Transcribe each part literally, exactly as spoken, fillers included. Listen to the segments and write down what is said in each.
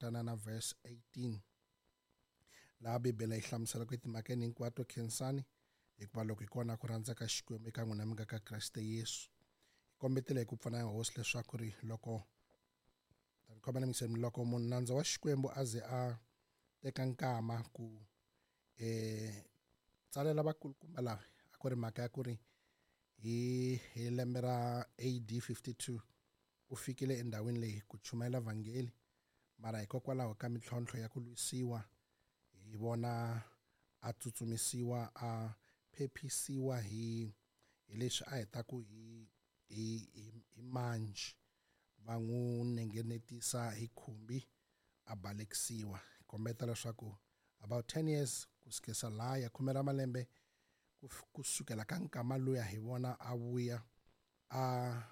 langutana na verse eighteen laha Bibele yi hlamusela ku etimhakeni hinkwato khensani hikuva loko hi kona ku rhandza ka Xikwembu eka n'wina mi nga ka Kreste Yesu. Hi kombetela hi ku pfuna ya hosi leswaku ri loko khomela mingiseni loko munhu nandza wa Xikwembu a ze a teka nkama ku eh tsalela vakulukumba lava a ku ri mhaka ya ku ri hi hi lembe ra A D fifty-two u fikile endhawini leyi ku chumayela vhangeli mara hikokwalaho ka mintlhontlho ya ku lwisiwa hi vona a tsutsumisiwa a phephisiwa hi hi leswi a heta ku hi hi hi manji va n'wi nengenetisa hi khumbi a balekisiwa. Kombeta leswaku about ten years ku sukela laha ya khume ra malembe ku sukela ka nkama luya hi vona a vuya a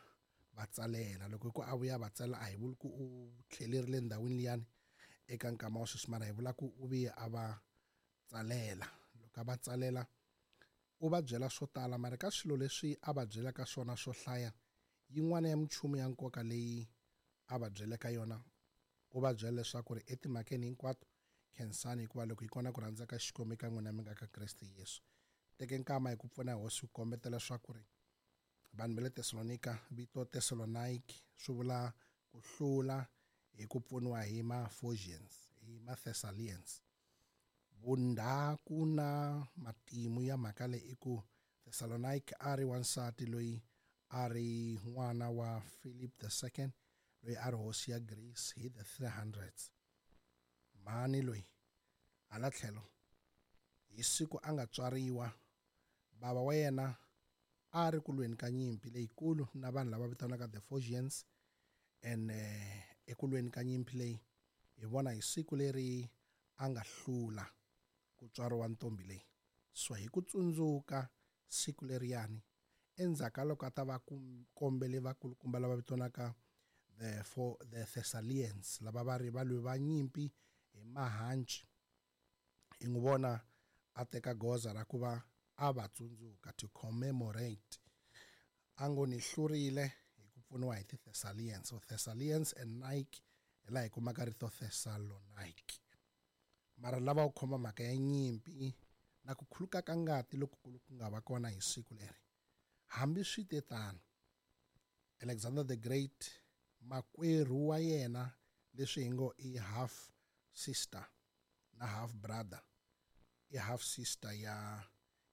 va tsalela. Loko ku a vuya va tsalela a hi vuli ku u tlhelerile ndhawini liyani eka nkama wa sweswi mara hi vula ku u vuye a va tsalela. Loko a va tsalela u va byela swo tala mara ka swilo leswi a va byelaka swona swo hlaya yin'wana ya minchumu ya nkoka leyi a va byeleka yona u va byela leswaku ri etimhakeni hinkwato khensani hikuva loko hi kona ku rhandza ka Xikwembu eka n'wina mi nga ka Kreste Yesu. Teke nkama hi ku pfuna hosi ku kombetela leswaku ri vanhu va le Tesalonika vito Thessalonike swi vula ku hlula hi ku pfuniwa hi ma-Phocians hi ma-Thessalians. Vundhaku na matimu ya mhaka leyi i ku Thessalonike a ri wansati loyi a ri n'wana wa Philip the Second loyi a ri hosi ya Greece hi the three hundreds. Mhani loyi hala tlhelo hi siku a nga tswariwa bava wa yena a ri ku lweni ka nyimpi leyikulu na vanhu lava vitaniwaka the Phocians and eku lweni ka nyimpi leyi hi vona hi siku leri a nga hlula ku tswariwa ntombi leyi. So hi ku tsundzuka siku leriyani endzhaku ka loko a ta va kombele vakulukumba lava vitaniwaka the for the Thessalians lava va ri valwi va nyimpi hi mahanci hi n'wi vona a teka goza ra ku va a va tsundzuka to commemorate a ngo ni hlurile hi ku pfuniwa hi ti-Thessalians. So Thessalians and Nike hi laha hi kumaka rito Thessalonike. Mara lava ku khoma mhaka ya nyimpi na ku khuluka ka ngati lokukulu ku nga va kona hi siku leri. Hambi swi te tano Alexander the Great makwerhu wa yena leswi hi ngo i half sister na half brother i half sister ya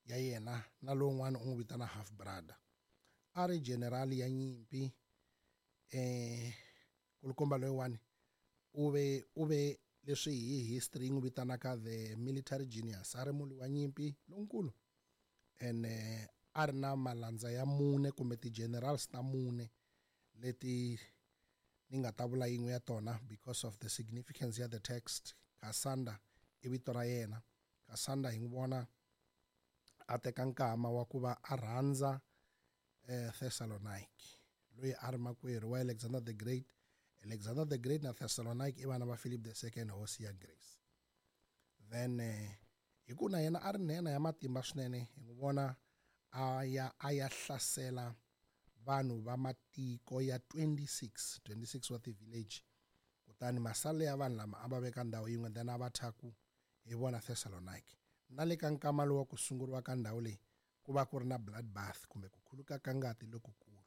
ya yena na lowun'wana u n'wi vitana half brother a ri general ya nyimpi eh kulukumba loyiwani u ve u ve leswi hi history yi n'wi vitanaka the military genius a ri mulwi wa nyimpi lonkulu and a ri na malandza ya mune kumbe ti-generals ta mune leti ni nga ta vula yin'we ya tona because of the significance ya the text. Cassander i vito ra yena. Cassander hi n'wi vona a teka nkama wa ku va a rhandza eh, Thessalonike loyi a ri makwerhu wa Alexander the Great. Alexander the Great na Thessalonike i vana va Philip the Second hosi ya Greece. Then eh, hi ku na yena a ri nhenha ya matimba swinene hi n'wi vona a ya a ya hlasela vanhu va matiko ya twenty-six twenty-six wa ti-village kutani masale ya vanhu lama a va veka ndhawu yin'we then a va thaku hi vona Thessalonike. Na le ka nkama lowu wa ku sunguriwa ka ndhawu leyi ku va ku ri na blood bath kumbe ku khuluka ka ngati lokukulu.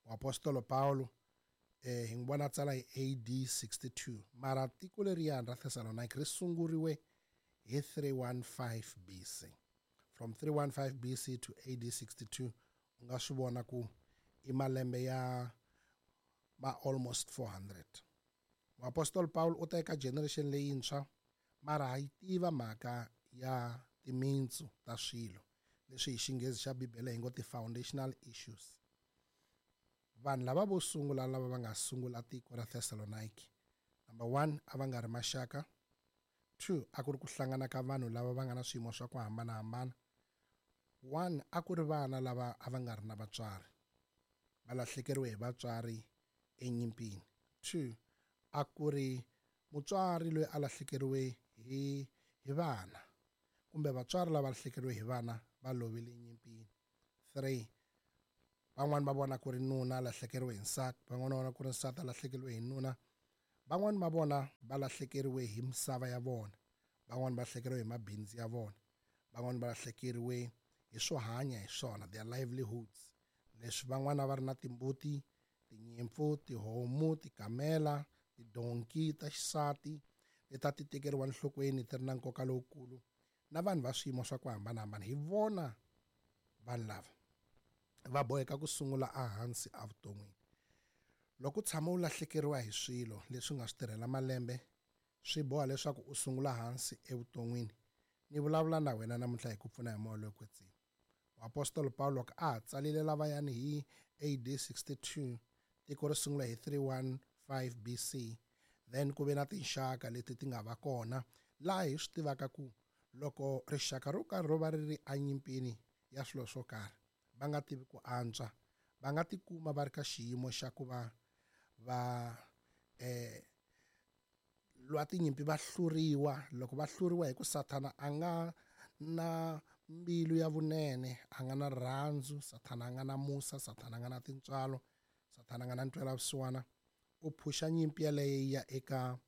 Muapostolo Paulo eh hi n'wi vona tsala hi A D sixty-two mara tiko leriyani ra Thessalonike ri sunguriwe hi three fifteen B C. From three fifteen B C to A D sixty-two u nga swi vona ku i malembe ya ma almost four hundred. Muapostolo Paul u ta eka generation leyintshwa mara ha yi tiva mhaka ya timintsu ta swilo leswi hi xinghezi xa Bibele hi ngo ti-foundational issues. Vanhu lava vo sungula lava va nga sungula tiko ra Thessalonike number one a va nga ri maxaka, two a ku ri ku hlangana ka vanhu lava va nga na swiyimo swa ku hambanahambana, one a ku ri vana lava a va nga ri na vatswari va lahlekeriwe hi vatswari enyimpini, two a ku ri mutswari loyi a lahlekeriwe hi hi vana kumbe vatswari lava lahlekeriwe hi vana va lovile enyimpini, three van'wani va vona ku ri nuna a lahlekeriwe hi nsati van'wani va vona ku ri nsati a lahlekeriwe hi nuna Van'wani va vona va lahlekeriwe hi misava ya vona, van'wani va lahlekeriwe hi mabindzu ya vona, van'wani va lahlekeriwe hi swo hanya hi swona, their livelihoods. Leswi van'wana va ri na timbuti, tinyimpfu, tihomu, tikamela, tidonki ta xisati leti a ti tekeriwa enhlokweni ti ri na nkoka lowukulu, na vanhu va swiyimo swa ku hambanahambana. Hi vona vanhu lava va boheka ku sungula ehansi evuton'wini. Loko u tshama u lahlekeriwa hi swilo leswi nga swi tirhela malembe, swi boha leswaku u sungula hansi evuton'wini. Ni vulavula na wena namuntlha hi ku pfuna hi moya lowo kwetsima. Muapostolo Paulo loko a ha tsalile lavayani hi A D sixty-two, tiko ri sungula hi three one five B C, then ku ve na tinxaka leti ti nga va kona laha hi swi tivaka ku loko rixaka ro karhi ro va ri ri enyimpini ya swilo swo karhi, va nga tivi ku antswa, va nga tikuma va ri ka xiyimo xa ku va va eh lwa tinyimpi va hluriwa. Loko va hluriwa hi ku Sathana a nga na mbilu ya vunene, a nga na rirhandzu, Sathana a nga na musa, Sathana a nga na tintswalo, Sathana a nga na ntwelavusiwana, u phusha nyimpi yaleyo yi ya eka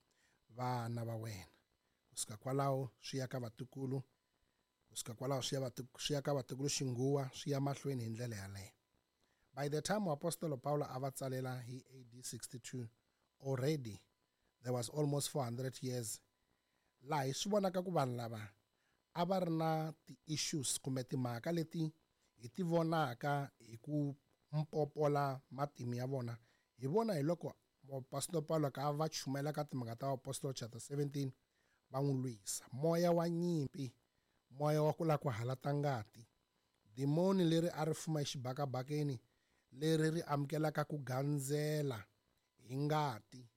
vana va wena. Kusuka kwalaho swi ya ka vatukulu, kusuka kwalaho swi ya vatu-, swi ya ka vatukulu xinguwa, swi ya mahlweni hi ndlela yaleyo. By the time Muapostolo Paulo a va tsalela hi A D sixty-two, already there was almost four hundred years laha hi swi vonaka ku vanhu lava a va ri na ti-issues kumbe timhaka leti hi ti vonaka hi ku mpopola matimu ya vona. Hi vona hi loko Muapostolo Paulo ka va chumayela ka timhaka ta Apostolo chapter seventeen, va n'wi lwisa. Moya wa nyimpi, moya wa ku lava ku halata ngati, dimoni leri a ri fuma exibakabakeni leri ri amukelaka ku gandzela hi ngati,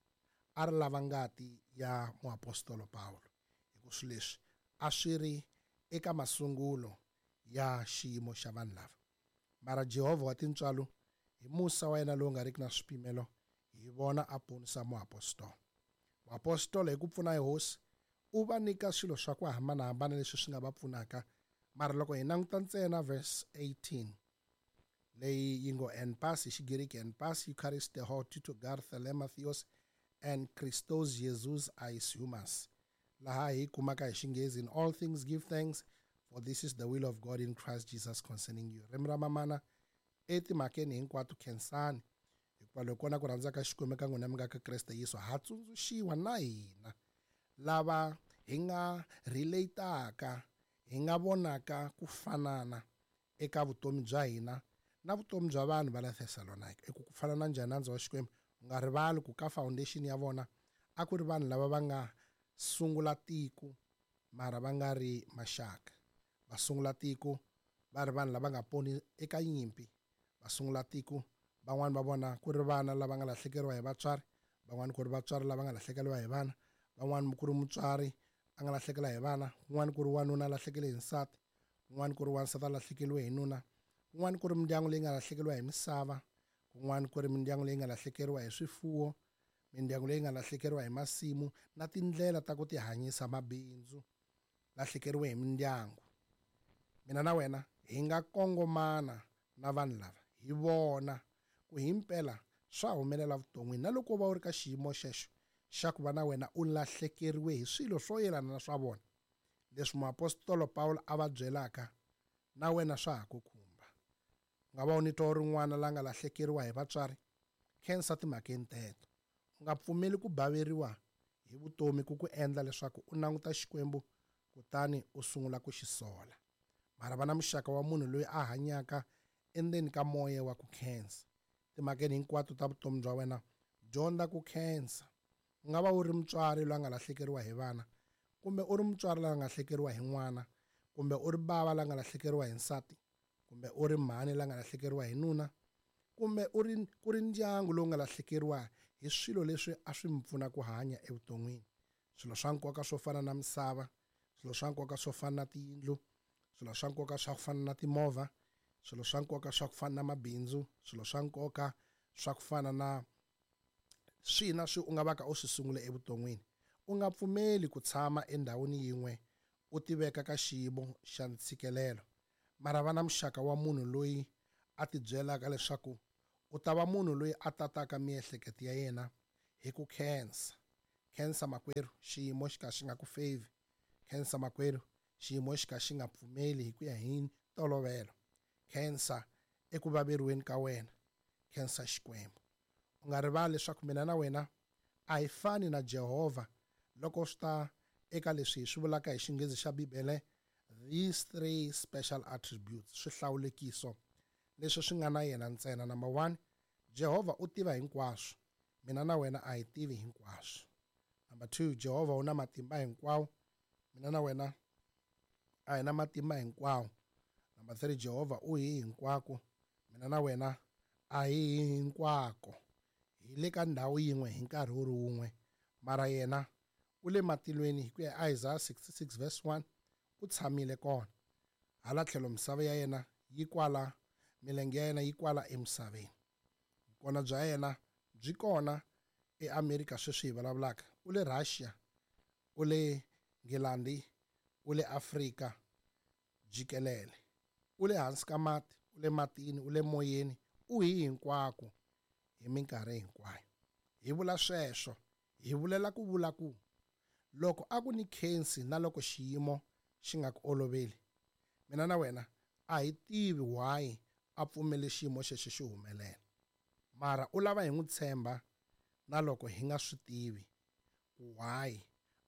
a ri lava ngati ya muapostolo Paulo. Hi ku swilo leswi a swi ri eka masungulo ya xiyimo xa vanhu lava. Mara Jehovha wa tintswalo, hi musa wa yena lowu nga riki na swipimelo, hi vona a ponisa muapostolo. Muapostolo hi ku pfuna hi Hosi u va nyika swilo swa ku hambanahambana leswi swi nga va pfunaka. Mara loko hi languta ntsena verse eighteen leyi yi ngo en pas hi Xigiriki, en pas Eucharist ho Tito gar thelema theos and Christos Jesus eis humas. Laha hi kumaka hi Xinghezi, in all things give thanks, for this is the will of God in Christ Jesus concerning you. Ririmi ra mamana etimhakeni hinkwato khensani, hikuva loko kona ku rhandza ka Xikwembu ka n'wina mi nga ka Kreste Yesu, ha tsundzuxiwa na hina lava hi nga relataka, hi nga vonaka ku fanana eka vutomi bya hina na vutomi bya vanhu va la Thessalonika. I ku ku fana na njhani nandzu wa Xikwembu? U nga rivali ku ka foundation ya vona a ku ri vanhu lava va nga sungula tiko mara va nga ri maxaka. Va sungula tiko va ri vanhu lava nga poni eka nyimpi. Va sungula tiko van'wani va vona ku ri vana lava nga lahlekeriwa hi vatswari, van'wani ku ri vatswari lava nga lahlekeriwa hi vana, van'wani ku ri mutswari a nga lahlekela hi vana, kun'wani ku ri wanuna a lahlekele hi nsati, kun'wani ku ri wansati a lahlekeriwe hi nuna, kun'wani ku ri mindyangu leyi nga lahlekeriwa hi misava, kun'wani ku ri mindyangu leyi nga lahlekeriwa hi swifuwo, mindyangu leyi nga lahlekeriwa hi masimu na tindlela ta ku tihanyisa mabindzu, lahlekeriwe hi mindyangu. Mina na wena hi nga kongomana na vanhu lava, hi vona ku himpela swa humelela vuton'wini. Na loko va u ri ka xiyimo xexo xa ku va na wena u lahlekeriwe hi swilo swo yelana na swa vona, leswi muapostolo Paulo a va byelaka na wena swa ha ku khumba. U nga va u ni twa u ri n'wana la nga lahlekeriwa hi vatswari, khensa timhakeni teto. U nga pfumeli ku baveriwa hi vutomi ku ku endla leswaku u languta Xikwembu kutani u sungula ku xi sola. Mara va na muxaka wa munhu loyi a hanyaka endzeni ka moya wa ku khensa. Timhakeni hinkwato ta vutomi bya wena, dyondza ku khensa. U nga va u ri mutswari loyi a nga lahlekeriwa hi vana, kumbe u ri mutswari loyi a nga lahlekeriwa hi n'wana, kumbe u ri bava la nga lahlekeriwa hi nsati, kumbe u ri mhani la nga lahlekeriwa hi nuna, kumbe u ri ku ri ndyangu lowu nga lahlekeriwa hi swilo leswi a swi mi pfuna ku hanya evuton'wini. Swilo swa nkoka swo fana na misava, swilo swa nkoka swo fana na tiyindlu, swilo swa nkoka swa ku fana na timovha, swilo swa nkoka swa ku fana na mabindzu, swilo swa nkoka swa ku fana na swihi na swihi u nga va ka u swi sungule evuton'wini. U nga pfumeli ku tshama endhawini yin'we u tiveka ka xiyimo xa ntshikelelo. Mara va na muxaka wa munhu loyi a tibyelaka leswaku u ta va munhu loyi a tataka miehleketo ya yena hi ku khensa. Khensa makwerhu, xiyimo xi ka xi nga ku favor. Khensa makwerhu, xiyimo xi ka xi nga pfumeli hi ku ya hi ntolovelo. Khensa eku vaveriweni ka wena. Khensa Xikwembu. U nga rivali leswaku mina na wena a hi fani na Jehovha loko swi ta eka leswi hi swi vulaka hi Xinghezi xa Bibele, these three special attributes, swihlawulekiso leswi swi nga na yena ntsena. Number one, Jehovha u tiva hinkwaswo. Mina na wena a hi tivi hinkwaswo. Number two, Jehovha u na matimba hinkwawo. Mina na wena a hi na matimba hinkwawo. Number three, Jehovha u hi hinkwako. Mina na wena a hi hinkwako. Hi le ka ndhawu yin'we hi nkarhi wu ri wun'we, mara yena u le matilweni hi ku ya Isaiah sixty-six verse one, u tshamile kona. Hala tlhelo misava ya yena yi kwala, milenge ya yena yi kwala emisaveni. Vukona bya yena byi kona eAmerika sweswi hi vulavulaka. U le Russia, u le Nghilandhi, u le Afrika jikelele. U le hansi ka mati, u le matini, u le moyeni, u hi hinkwako hi minkarhi hinkwayo. Hi vula sweswo, hi vulela ku vula ku loko a ku ni khensi na loko xiyimo xi nga ku oloveli, mina na wena a hi tivi why a pfumele xiyimo xexo xi humelela. Mara u lava hi n'wi tshemba na loko hi nga swi tivi ku why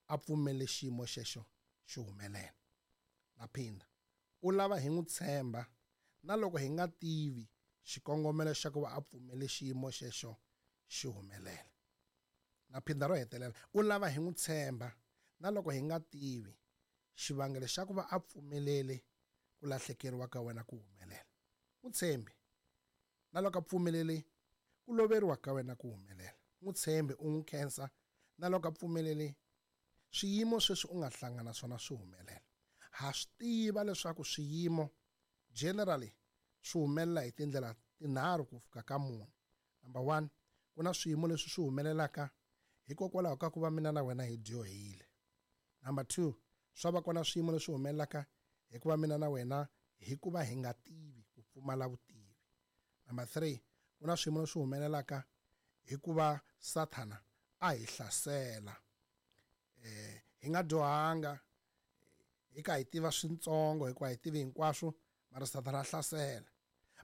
a pfumele xiyimo xexo xi humelela. Na phinda, u lava hi n'wi tshemba na loko hi nga tivi xikongomelo xa ku va a pfumele xiyimo xexo xi humelela. Na phinda ro hetelela, u lava hi n'wi tshemba na loko hi nga tivi xivangelo xa ku va a pfumelele ku lahlekeriwa ka wena ku humelela. N'wi tshembi na loko a pfumelele ku loveriwa ka wena ku humelela. N'wi tshembi, u n'wi khensa na loko a pfumelele swiyimo sweswi u nga hlangana swona swi humelela. Ha swi tiva leswaku swiyimo generally swi humelela hi tindlela tinharhu ku fika ka mune. Number one, ku na swiyimo leswi swi humelelaka hikokwalaho ka ku va mina na wena hi dyohile. Number two, swa va kona swiyimo leswi humelelaka hikuva mina na wena hikuva hi nga tivi, ku pfumala vutivi. Number three, ku na swiyimo leswi humelelaka hikuva Sathana a hi hlasela. Eh, hi nga dyohanga, hi ka hi tiva swintsongo, hikuva hi tivi hinkwaswo, mara Sathana a hlasela.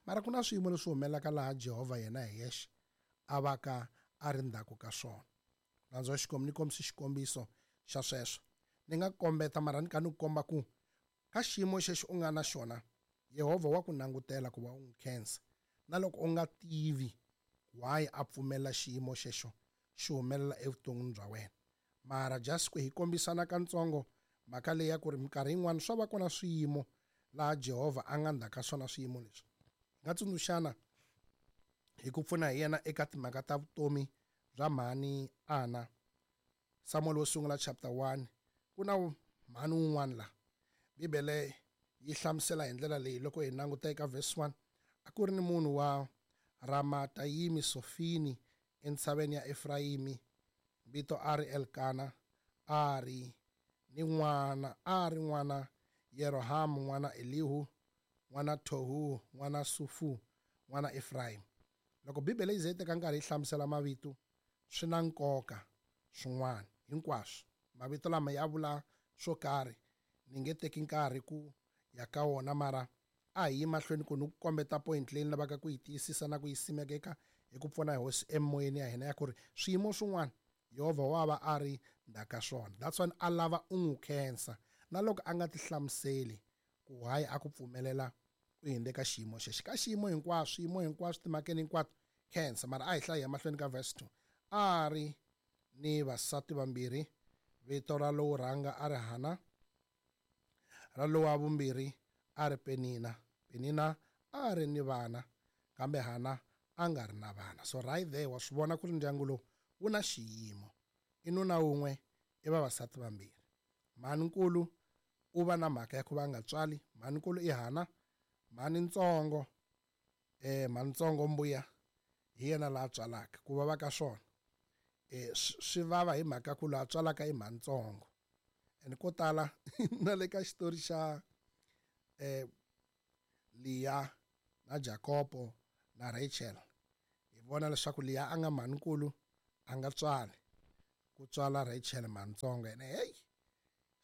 Mara ku na swiyimo leswi humelelaka laha Jehovha yena hi yexe a va ka a ri ndzhaku ka swona. Nandzu wa Xikwembu ni kombisa xikombiso xa sweswo. Ni nga kombeta mara ni ka ni ku komba ku ka xiyimo xexo u nga na xona, Yehovha wa ku langutela ku va u n'wi khensa. Na loko u nga tivi why a pfumela xiyimo xexo xi humelela evuton'wini bya wena. Mara just ku hi kombisana katsongo mhaka leyi ya ku ri minkarhi yin'wana swa va kona swiyimo laha Jehovha a nga ndzhaka swona swiyimo leswi. Hi nga tsundzuxana hi ku pfuna hi yena eka timhaka ta vutomi bya mhani Ana. Samuel wo sungula chapter one, ku na mhani wun'wana la. Bibele yi hlamusela hi ndlela leyi loko hi languta eka verse one, a ku ri ni munhu wa Ramatayimi Sofini entshaveni ya Efrayimi, vito a ri Elkana, a ri ni n'wana, a ri n'wana Yerohamu, n'wana Elihu, n'wana Tohu, n'wana Sufu, n'wana Efrayimi. Loko Bibele yi ze yi teka nkarhi yi hlamusela mavito, swi na nkoka swin'wana hinkwaswo. Mavito lama ya vula swo karhi, ni nge teki nkarhi ku ya ka wona, mara a hi yi mahlweni ku ni ku kombeta point leyi ni lavaka ku yi tiyisisa na ku yi simeka eka hi ku pfuna hi hosi emoyeni ya hina ya ku ri swiyimo swin'wana Yehovha wa va a ri ndzhaka swona. That's why a lava u n'wi khensa na loko a nga ti hlamuseli ku hayi a ku pfumelela u hindze ka xiyimo xexo. Ka xiyimo hinkwaswo, swiyimo hinkwaswo, timhakeni hinkwato khensa. Mara a hi hlayi emahlweni ka verse two. A ri ni vasati vambirhi, vito ra lowo rhanga a ri Hana, ra lowa vumbirhi a ri Penina. Penina a ri ni vana, kambe Hana a nga ri na vana. So right there wa swi vona ku ri ndyangu lowu wu na xiyimo. I nuna wun'we, i vavasati vambirhi. Mhani-nkulu u va na mhaka ya ku va a nga tswali. Mhani-nkulu i Hana, mhani-ntsongo, eh, mhani-ntsongo mbuya hi yena laha tswalaka. Ku vava ka swona, eh, swi vava hi mhaka ku laha tswalaka i mhani-ntsongo. And ko tala na le ka xitori xa, eh, Leah na Jakobo na Rachel, hi vona leswaku Leah a nga mhani-nkulu a nga tswali. Ku tswala Rachel Mantsongo ene hey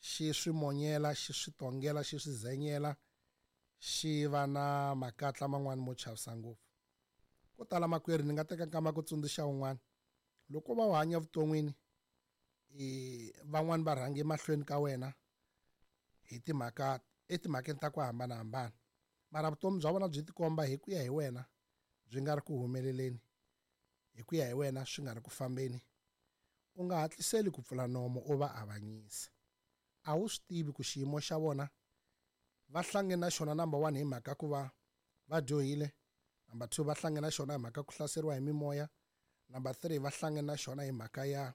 xi swi monyela xi swi tongela xi swi zenyela xi va na makatla man'wani mo chavisa ngopfu. Ko tala makwerhu ni nga teka nkama ku tsundzuxa un'wana loko va u hanya vuton'wini i van'wani va rhange mahlweni ka wena hi timhaka etimhakeni ta ku hambanahambana mara vutomi bya vona byi tikomba hi ku ya hi wena byi nga ri ku humeleleni hi ku ya hi wena swi nga ri ku fambeni. U nga hatliseli ku pfula nomo u va avanyisa. A wu swi tivi ku xiyimo xa vona va hlange na xona number one hi mhaka ku va va dyohile, number two va hlange na xona hi mhaka ku hlaseriwa hi mimoya, number three va hlange na xona hi mhaka ya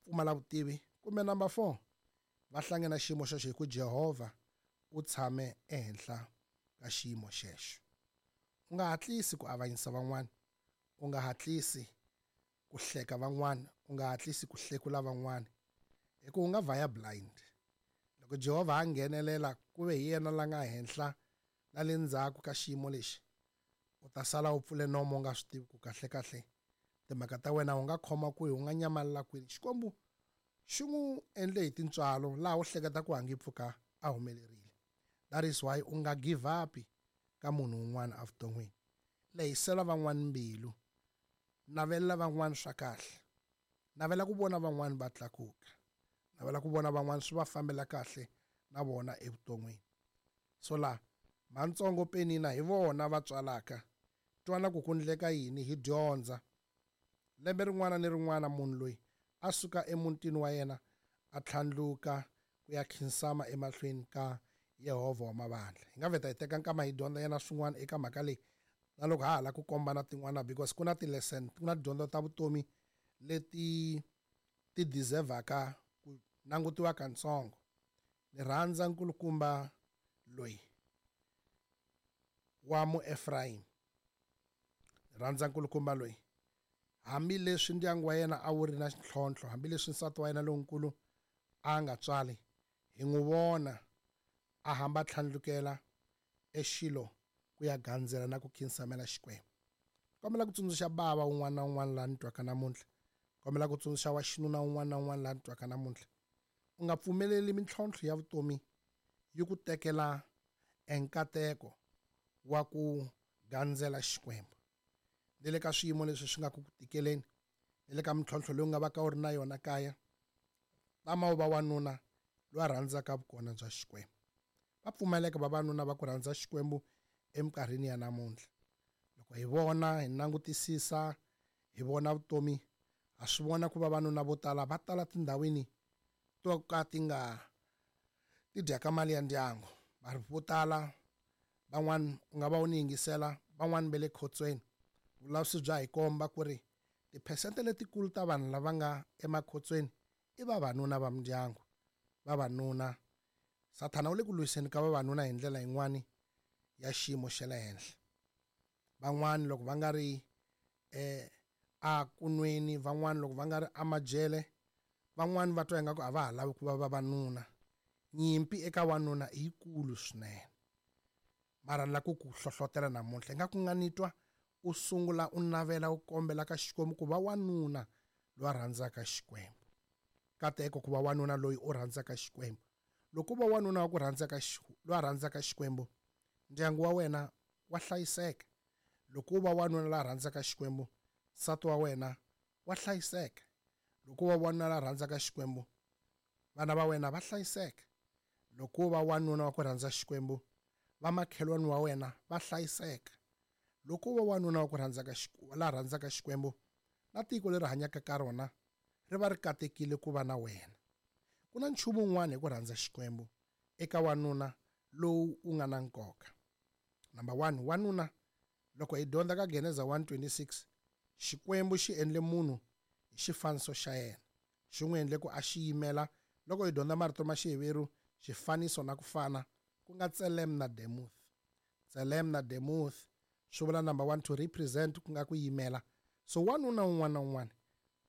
pfumala vutivi, kumbe number four va hlange na xiyimo xexo hi ku Jehovha u tshame ehenhla ka xiyimo xexo. U nga hatlisi ku avanyisa van'wana, u nga hatlisi ku hleka van'wana, u nga hatlisi ku hlekula van'wana hi ku u nga vhaya blind. Loko Jehovha a nghenelela ku ve hi yena la nga henhla na le ndzhaku ka xiyimo lexi, u ta sala u pfule nomo u nga swi tivi ku kahle kahle timhaka ta wena u nga khoma kwihi, u nga nyamalala kwini. Xikwembu xi n'wi endle hi tintswalo laha u hleketa ku hangi pfuka a humelerile. That is why u nga give up ka munhu un'wana evuton'wini. Lehisela van'wana mbilu, navelela van'wana swa kahle, navela ku vona van'wana va tlakuka, navela ku vona van'wana swi va fambela kahle na vona evuton'wini. So la Mantsongo Penina hi vona va tswalaka twana ku ku ndleka yini hi dyondza. Lembe rin'wana ni rin'wana munhu loyi a suka emutini wa yena a tlhandluka ku ya khinsama emahlweni ka Yehovha wa mavandla. Hi nga vheta hi teka nkama hi dyondza yena swin'wana eka mhaka leyi na loko ha hala ku kombana tin'wana because ku na ti-lesson, ku na tidyondzo ta vutomi leti ti deservaka ku langutiwa katsongo. Ni rhandza nkulukumba loyi wa Muefrayimi. Ni rhandza nkulukumba loyi hambileswi ndyangu wa yena a wu ri na ntlhontlho, hambileswi nsati wa yena lonkulu a nga tswali, hi n'wi vona a hamba tlhandlukela exilo ku ya gandzela na ku khinsamela Xikwembu. Kombela ku tsundzuxa bava un'wana na un'wana laha ni twaka namuntlha, kombela ku tsundzuxa wa xinuna un'wana na un'wana laha ni twaka namuntlha, u nga pfumeleli mintlhontlho ya vutomi yi ku tekela enkateko wa ku gandzela Xikwembu. Ni le ka swiyimo leswi swi nga ku ku tikeleni, ni le ka mintlhontlho leyi u nga va ka u ri na yona kaya, tama u va wanuna loyi a rhandzaka vukona bya Xikwembu. Va pfumeleka vavanuna va ku rhandza Xikwembu eminkarhini ya namuntlha. Loko hi vona, hi langutisisa, hi vona vutomi, ha swi vona ku vavanuna vo tala va tala tindhawini to ka ti nga ti dyaka mali ya ndyangu. Va ri vo tala van'wana u nga va u ni yingisela, van'wana va le khotsweni. Vulavisisi bya hi komba ku ri tiphesente letikulu ta vanhu lava nga emakhotsweni i vavanuna va mindyangu, vavanuna. Sathana u le ku lwiseni ka vavanuna hi ndlela yin'wani ya xiyimo xa le henhla. Van'wani loko va nga ri eh a kunweni, van'wani loko va nga ri amajele, van'wani va twa ingaku a va ha lavi ku va vavanuna. Nyimpi eka wanuna i yikulu swinene. Mara ni lava ku ku hlohlotela namuntlha ingaku nga ni twa u sungula u navela u kombela ka Xikwembu ku va wanuna loyi a rhandzaka Xikwembu. Kateko ku va wanuna loyi u rhandzaka Xikwembu. Loko u va wanuna wa ku rhandzaka loyi a rhandzaka Xikwembu, ndyangu wa wena wa hlayiseka. Loko u va wanuna la rhandzaka Xikwembu, nsati wa wena wa hlayiseka. Loko u va wanuna la rhandzaka Xikwembu, vana va wena va hlayiseka. Loko u va wanuna wa ku rhandza Xikwembu, vamakhelwani wa wena va hlayiseka. Loko u va wanuna wa ku rhandzaka la rhandzaka Xikwembu, na tiko leri hanyaka ka rona ri va ri katekile ku va na wena. Ku na nchumu wun'wana hi ku rhandza Xikwembu eka wanuna lowu wu nga na nkoka. Number one, wanuna loko hi dyondza ka Geneza one twenty-six, Xikwembu xi endle munhu hi xifaniso xa yena. Xi n'wi endle ku a xi yimela. Loko hi dyondza marito ma Xiheveru, xifaniso na ku fana, ku nga Tselem na Demuth. Tselem na Demuth swi vula number one to represent, ku nga ku yimela. So wanuna un'wana na un'wana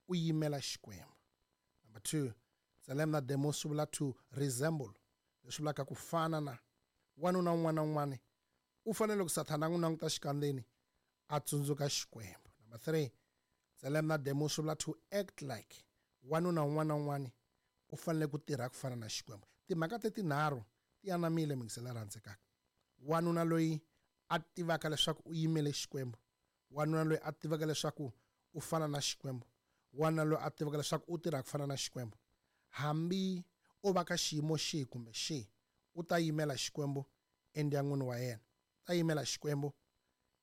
u yimela Xikwembu. Number two, Tselem na Demuth swi vula to resemble, leswi vulaka ku fana na. Wanuna un'wana na un'wana u fanele ku Sathana a n'wi languta xikandzeni a tsundzuka Xikwembu. Number three, Tselem na Demuth swi vula to act like, Wanuna un'wana na un'wana u fanele ku tirha ku fana na Xikwembu. Timhaka te tinharhu ti anamile, mingisela rhandzekaka. Wanuna loyi a tivaka leswaku u yimele Xikwembu, wanuna loyi a tivaka leswaku u fana na Xikwembu, wanuna loyi a tivaka leswaku u tirha ku fana na Xikwembu, hambi o va ka xiyimo xihi kumbe xihi, u ta yimela Xikwembu endyangwini wa yena, u ta yimela Xikwembu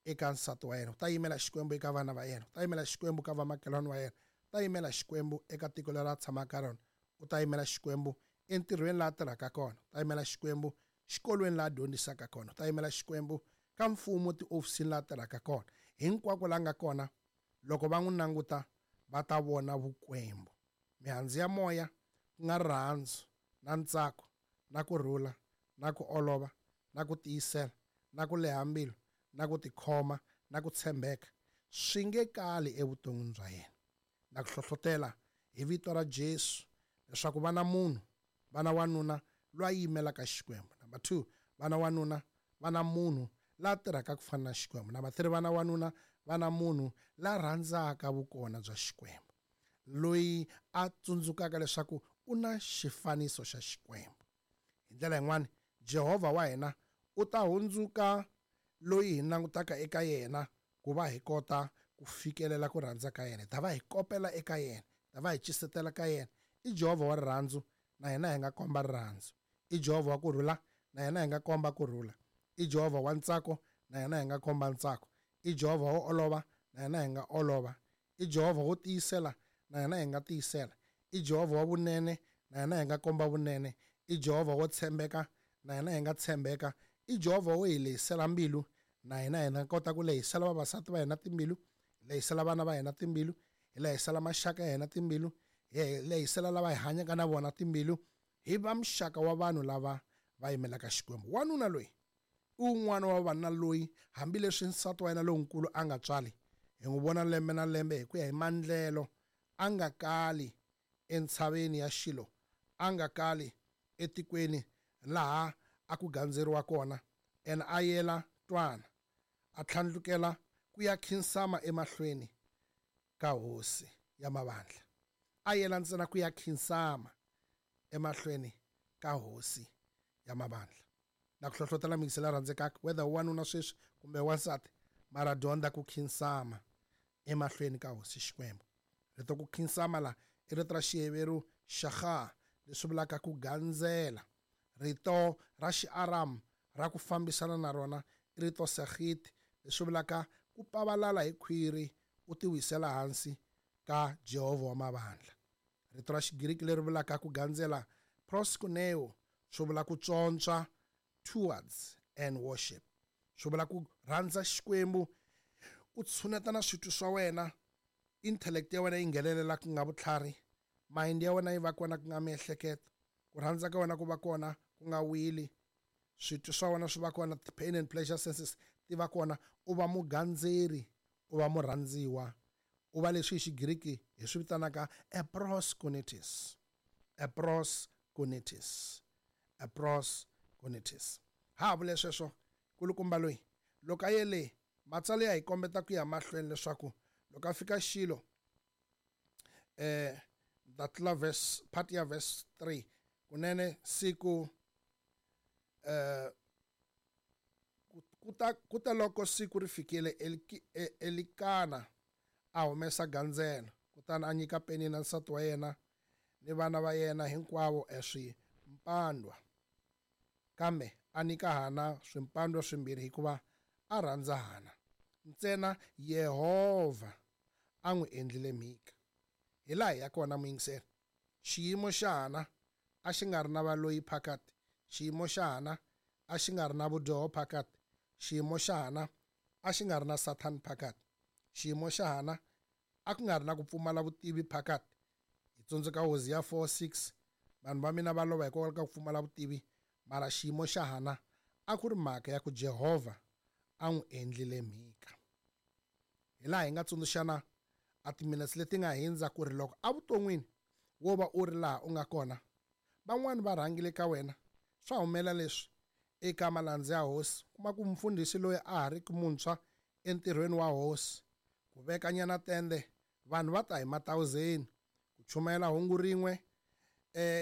eka nsati wa yena, u ta yimela Xikwembu eka vana va yena, u ta yimela Xikwembu ka vamakhelwani wa yena, u ta yimela Xikwembu eka tiko leri a tshamaka ka rona, u ta yimela Xikwembu entirhweni laha a tirhaka kona, u ta yimela Xikwembu xikolweni laha a dyondzisaka kona, u ta yimela Xikwembu ka mfumo tiofisini laha a tirhaka kona. Hinkwako la nga kona, loko va n'wi languta va ta vona vukwembu. Mihandzu ya moya ku nga rirhandzu na ntsako na kurhula na ku olova na ku tiyisela na ku leha mbilu na ku tikhoma na ku tshembeka swi nge kali evuton'wini bya yena. Na ku hlohlotela hi vito ra Jesu leswaku va na munhu, va na wanuna loyi a yimelaka Xikwembu. Number two, va na wanuna, va na munhu la tirhaka ku fana na Xikwembu. Number three, va na wanuna, va na munhu la rhandzaka vukona bya Xikwembu, loyi a tsundzukaka leswaku u na xifaniso xa Xikwembu. Hi ndlela yin'wani, Jehovha wa hina u ta hundzuka loyi hi langutaka eka yena ku va hi kota ku fikelela ku rhandza ka yena. Hi ta va hi kopela eka yena, hi ta va hi cisetela ka yena. I Jehovha wa rirhandzu, na hina hi nga komba rirhandzu. I Jehovha wa kurhula, na hina hi nga komba kurhula. I Jehovha wa ntsako, na hina hi nga komba ntsako. I Jehovha wo olova, na hina hi nga olova. I Jehovha wo tiyisela, na hina hi nga tiyisela. I Jehovha wa vunene, na hina hi nga komba vunene. I Jehovha wo tshembeka, na hina hi nga tshembeka. I Jehovha wo hi lehisela mbilu, na hina hi nga kota ku lehisela vavasati va hina timbilu, hi lehisela vana va hina timbilu, hi lehisela maxaka ya hina timbilu, hi lehisela lava hi hanyaka na vona timbilu. Hi va muxaka wa vanhu lava va yimelaka Xikwembu. Wanuna loyi i wun'wana wa vavanuna loyi hambileswi nsati wa yena lonkulu a nga tswali, hi n'wi vona lembe na lembe hi ku ya hi mandlelo, a nga kali entshaveni ya Xilo, a nga kali etikweni laha a ku gandzeriwa kona, ene a yela twana, a tlhandlukela ku ya khinsama emahlweni ka hosi ya mavandla. A yela ntsena ku ya khinsama emahlweni ka hosi ya mavandla. Na ku hlohlotela mingisela rhandzekaka, whether wanuna sweswi kumbe wansati, mara dyondza ku khinsama emahlweni ka hosi Xikwembu. Rito ku khinsama la i rito ra Xiheveru shaha, leswi vulaka ku gandzela. Rito ra Xiaram ra ku fambisana na rona i rito sahit, leswi vulaka ku pavalala hi khwiri u tiwisela hansi ka Jehovha wa mavandla. Rito ra Xigiriki leri vulaka ku gandzela proskuneo, swi vula ku tswontswa, towards and worship. Swi vula ku rhandza Xikwembu, u tshuneta na switwi swa wena, intellect ya wena yi nghenelela ku nga vutlhari, mind ya wena yi va kona ku nga miehleketo, ku rhandza ka wena ku va kona ku nga wili, switwi swa wena swi va kona, pain and pleasure senses ti va kona, u va mugandzeri, u va murhandziwa, u va leswi hi Xigiriki hi swi vitanaka a proskunitis, a proskunitis, a proskunitis. Ha vule sweswo kulukumba loyi loko a yele matsalo ya hi kombeta ku ya mahlweni leswaku loko a fika Xilo, eh ta tlula verse part ya verse three, kunene siku eh kuta kuta loko siku ri fikile, Elikana a humesa gandzelo, kutani a nyika Penina nsati wa yena ni vana va yena hinkwavo eswimpandwa, kambe a nyika Hana swimpandwa swimbirhi hikuva a rhandza Hana. Ntsena Yehovha a n'wi endlile mhika. Hi laha hi ya kona muyingiseri, xiyimo xa Hana a xi nga ri na valoyi phakati, xiyimo xa Hana a xi nga ri na vudyoho phakati, xiyimo xa Hana a xi nga ri na Satan phakati, xiyimo xa Hana a ku nga ri na ku pfumala vutivi phakati. Hi tsundzuka Hosea four six, vanhu va mina va lova hikwalaho ka ku pfumala vutivi, mara xiyimo xa Hana a ku ri mhaka ya ku Jehovha a n'wi endlile mhika. Hi laha hi nga tsundzuxana a timinetse leti nga hindza ku ri loko evuton'wini wo va u ri laha u nga kona, van'wani va rhangile ka wena, swa humela leswi eka malandza ya hosi, kuma ku mfundhisi loyi a ha ri ki muntshwa entirhweni wa hosi, ku vekanyana tende, vanhu va ta hi matawuzeni, ku Ku chumayela hungu rin'we eh